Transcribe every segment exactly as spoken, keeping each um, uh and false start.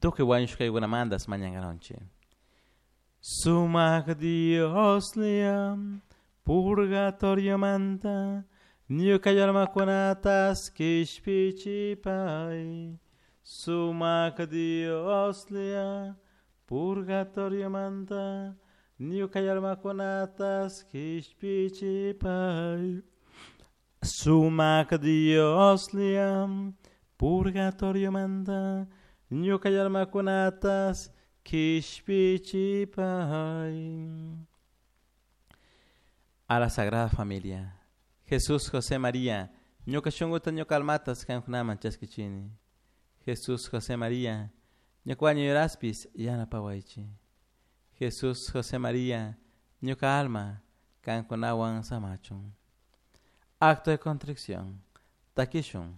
Tukuy wañushkaykunamantas mañankaronchik. Sumak Dioslla purgatoriomanta ñuka almakunatas kishpichipay. Sumak Dioslla purgatoriomanta ñuka almakunatas kishpichipay. Sumak Dioslla purgatoriomanta ñuka almakunatas kishpichipay. A la Sagrada Familia. Jesús, José, María, ñuka shunkuta ñuka almatas kankunaman chaskichini. Jesús, José, María, ñuka wañuyraspis yanapawaychik. Jesús, José, María, ñuka alma kankunawan samachun. Acto de contrición. Takishun.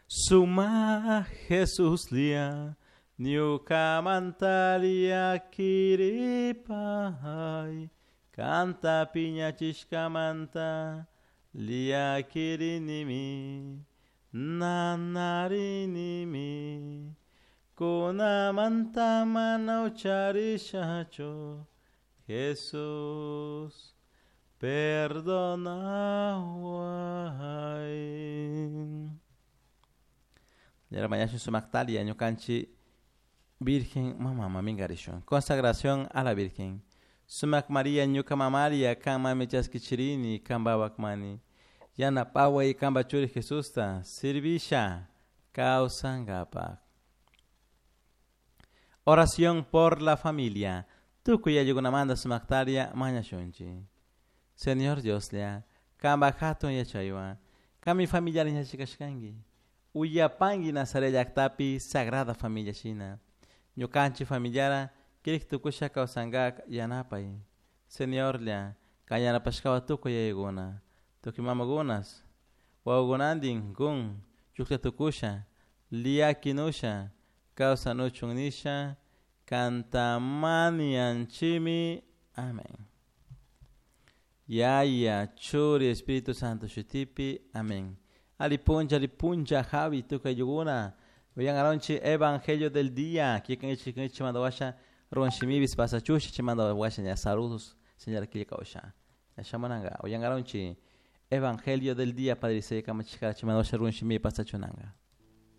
Suma Jesuslla ñukamanta llakiripay. Kanta piñachishkamanta llakirinimi, nanarinimi. Kunamanta mana ucharishachu, Jesús, perdonaway. Mañashun sumaktalia ñukanchik Virgen Mama Mamingarishun. Consagración a la Virgen. Sumak María ñuka mamaria kanmanmi chaskichirini kanpa wakmani. Yanapaway kanpa churi Jesusta servisha kawsankapak. Oración por la familia. Tukuy ayllunamanta sumaktaria mañashunchik. Señor Dioslla, kanpa hatun yachaywan, kanmi familiara yachachishkanki. Uyapanki Nazaret llaktapi Sagrada Familia shina. Ñukanchik familiara kirik tukusha kawsankak yanapay. Señorlla, kan yanapashkawan tukuy yayakuna, tukuy mamakunas, wawakunantin kun chuklla tukusha, llakinusha, kawsanuchun nisha, kanta mañanchikmi. Amén. Yaya, Churi, Espíritu Santo shutipi. Amén. Ali puncha, ali puncha, Javi, tukuy ayllukuna. Uyangaronchik Evangelio del día. Kikan chimanda washa ruan shimibis pasachusha chimanda washa ña saludos señora killkawsha. Shamunanga uyangaronchik Evangelio del día Padre Isai kamachishkara chimanda washa ruan shimibi pasachunanga.